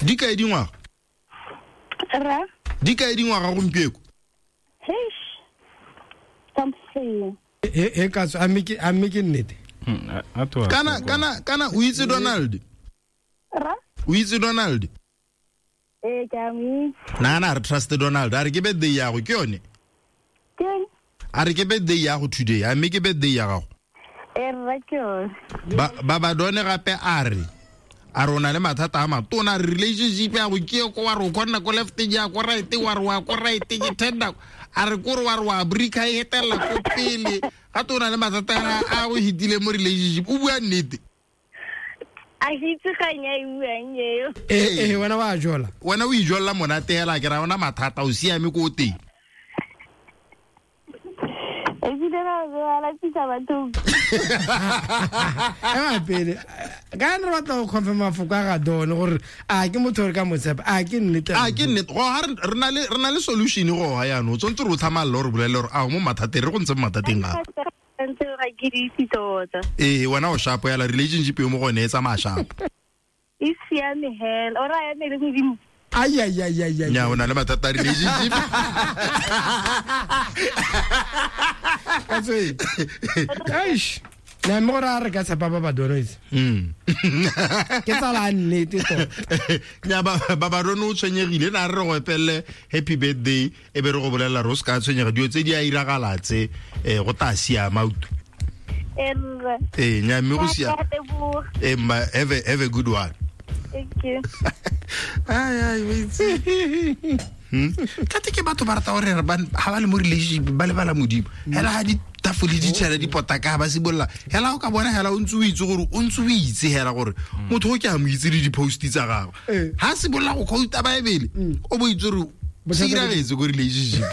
Di kae dingwaga? Ra? Di kae dingwaga gompieko? Heish. Something. He ka tswa, a mme ke nnete? Kana o itse Donald? Ra? O itse Donald? Ee, ke a mo itse. Nana re trust Donald. A re ke birthday ya go ke yone? Ke? A re ke birthday ya go today. A mme ke birthday ya gago? Ee, rra ke yone. Ba ba done gape a re o na le mathata a matona, relationship ya go ke ko wa re o kgona ko left ya ko right wa re wa ko right ke tender a re ko re wa re wa brika e etela ko pele ga to na le mathata a go hitile mo relationship. O bua nnete? A hitse ganya e buang eo. Eh wena wa jola. Wena o ijolla monate hela ke ra ona mathata o siame ko teng. E bile ra lapisa batho. Ema pele. Ka re batla go confirm mafoko a ga Don gore a ke motho re ka mo tshepa, a ke nnete. A ke nnete. Go ha re na le solution go ha yana. O tsontse re o tlhamalla gore bolele gore a mo mathateng re go ntse mo mathateng a. Ntse ga ke di itse tota. Ee, wena o shapo yala relationship yo mo gone e tsamaya shapo. E siame hela. O ra eme le Modimo. Ai ai ai ai ai. Nya o na le mathata a relationship. Ka tswe. Eish. Na mo ra re ka tshepa ba ba dono itse. Ke tsala nnete tota. Nya ba ba dono o tshwenyegile na re go epelle happy birthday e be re go bolela re o se ka tshwenyega dio tse di a iragalatse go ta siama utu. Ee, nya mme go siama. Ee, ma have a good one. Thank you. Ai wait. Kate ke batho ba rata gore ba ha ba le mo relationship ba lebala Modimo. Hela ha di tafole di tshela di potaka ba sibolla. Hela o ka bona hela o ntse o itse gore o ntse o itse hela gore motho o ke a mo itse le di post tsa gagwe. Ha sibolla go quote Bible o bo itse gore se iragetse ko relationship.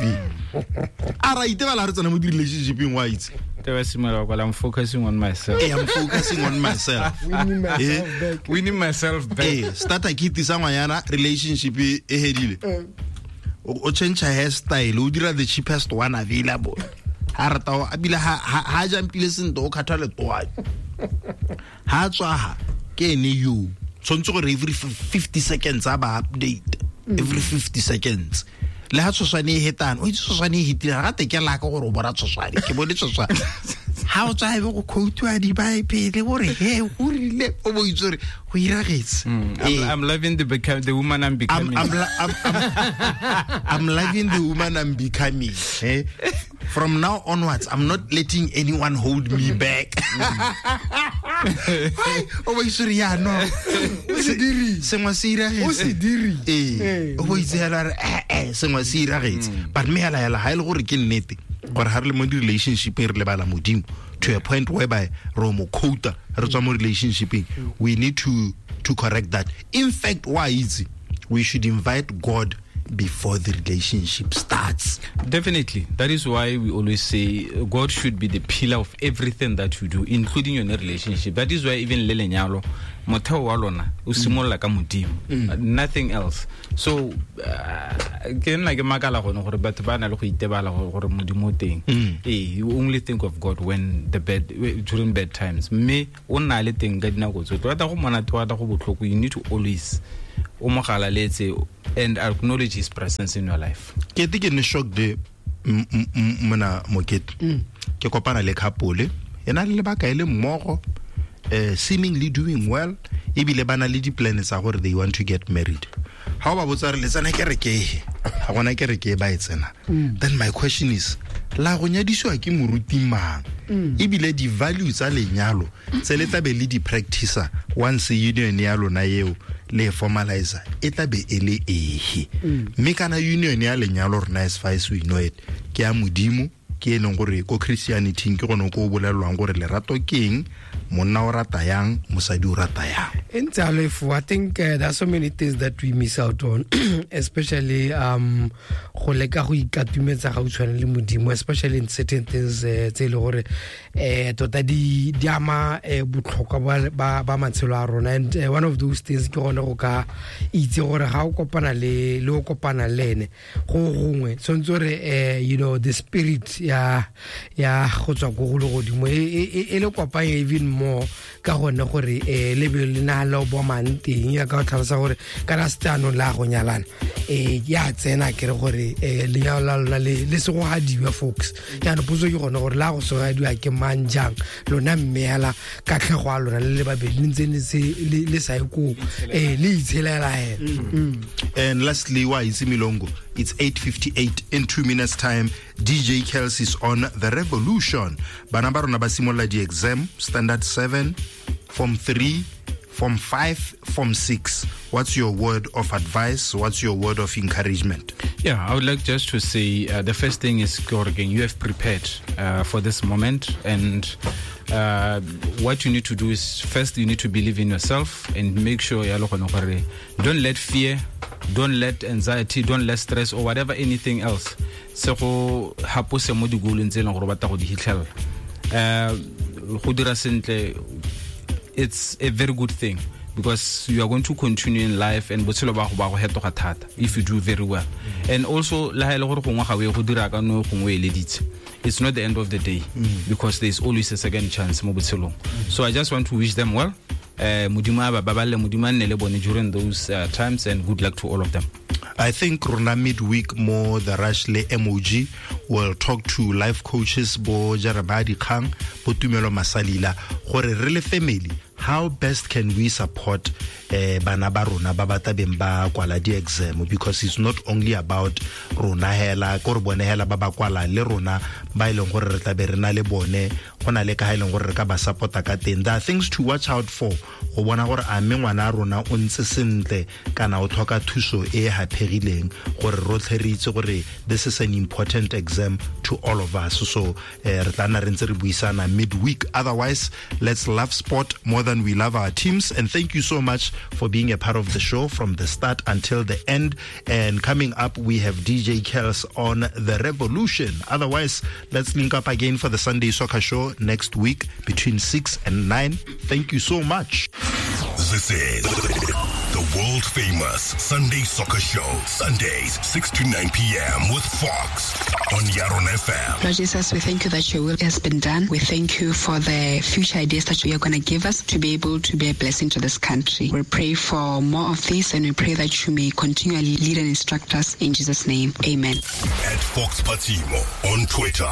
A ra itebala re tsena mo di relationshipeng wa itse. I'm focusing on myself. Hey, I'm focusing on myself. Winning myself back. Winning myself back. Hey, starter kit sa ngwanyana relationship e hedile. O change hairstyle, o dira the cheapest one available. Ha rata o abile ha jampile sento o khatha le toa. Ha tswa ha ke ene yo. Tshwantse gore every 50 seconds a ba update. Every 50 seconds. Le ha tshoswane e hetana o itse tshoswane e hitile ga te ke la ka gore o bona tshoswane ke bone tshoswane ha o tswa ebe go quote di Bible gore he go rile o bo itse gore go iragetse. I'm loving the woman I'm becoming. I'm loving the woman I'm becoming. From now onwards I'm not letting anyone hold me back. O bo itse gore ya no o se diri sengwe se iragetse o se diri ee o bo itse hela re sengwe se iragetse but me hela hela ha ile gore ke nnete gore ha re le mo di relationship re lebala Modimo to a point whereby re mo quota re tswa mo relationshipeng. We need to correct that. In fact, why is we should invite God before the relationship starts. Definitely. That is why we always say God should be the pillar of everything that you do, including your relationship. That is why even le lenyalo motheo wa lona o simolola ka Modimo, nothing else. So ke nna ke makala gone gore batho ba na le go itebala gore Modimo o teng. Eh, you only think of God when the bad during bad times. Mme o nna le teng ka dinako tsotlhe. Wa ta go monate wa ta go botlhoko, you need to always o mo galaletse and acknowledge his presence in your life. Ke te ke ne shock de mona Mokete. Ke kopana le couple ena le lebaka e le mmogo, seemingly doing well, ebile ba na le di-plan tsa gore they want to get married. Ha o ba botsa re le tsena kereke, ha gona kereke ba e tsena. Then my question is, la go nyadisiwa ke moruti mang? Ebile di-value tsa lenyalo tse le tlabe le di-practicer once union ya lona eo le formalizer e tlabe e le ehe. Mme kana union ya lenyalo rona as far as we know it ke ya Modimo, ke e leng gore ko Christianity ke gone ko o bolelwang gore lerato ke eng, monna o rata yang, mosadi o rata yang. I think there are so many things that we miss out on, especially go leka go ikatumetsa ga o tshwane le Modimo, especially in certain things tse e le gore tota di ama botlhokwa ba matshelo a rona. And one of those things ke gone go ka itse gore ga o kopana le o kopana le ene go gongwe tshwanetse gore you know the spirit ya go tswa go go le godimo e le kopanye even more. more ka gone gore le be le na le bo mang teng ya ka o tlhalosa gore kana se tsanong la go nyalana ya tsena ke re gore lenyalo la lona le segogadiwa folks. Jaanong potso ke gone gore la go segogadiwa ke mang jang lona mme hela katlhego a lona le le babedi le ntse le sa ye koo le itshelela hela. And lastly, wa itse Milongo, it's 8:58. In 2 minutes time, DJ Kels is on The Revolution. Bana ba rona ba simolola di-exam, standard 7, form 3, form 5, form 6. What's your word of advice? What's your word of encouragement? Yeah, I would like just to say the first thing is, Gorgen, you have prepared for this moment, and what you need to do is first you need to believe in yourself and make sure don't let fear, don't let anxiety, don't let stress or whatever anything else se go hapose mo digolong tse e leng gore o batla go di hitlhela. Go dira sentle, it's a very good thing because you are going to continue in life and botshelo ba go hetoga thata if you do very well. And also le ha ile gore gongwe ga o ye go dira ka no gongwe eleditse, it's not the end of the day because there is always a second chance mo botshelong. So I just want to wish them well. Modimo a ba baballe, Modimo a nne le bone during those times, and good luck to all of them. I think rona midweek mo The Rush le MOG will talk to life coaches bo Jeremiah Dikgang, bo Tumelo Masalila, gore re le family, how best can we support bana ba rona ba ba tabeng ba kwala di-exam, because it's not only about rona hela, ko re bone hela ba ba kwala le rona ba e leng gore re tlabe re na le bone, go na le ka ha e leng gore re ka ba support-a ka teng. There are things to watch out for go bona gore a mme ngwana a rona o ntse sentle kana o tlhoka thuso e haphegileng, gore rotlhe re itse gore this is an important exam to all of us. So re tla nna re ntse re buisana midweek. Otherwise, let's love sport more than we love our teams, and thank you so much for being a part of the show from the start until the end. And coming up, we have DJ Kels on The Revolution. Otherwise, let's link up again for the Sunday Soccer Show next week between 6 and 9. Thank you so much. This is the world famous Sunday Soccer Show, Sundays 6 to 9 p.m. with Fox on Yaron FM. Lord Jesus, we thank you that your will has been done. We thank you for the future ideas that you are going to give us to be able to be a blessing to this country. We pray for more of this, and we pray that you may continually lead and instruct us in Jesus' name. Amen. At Fox Patimo on Twitter.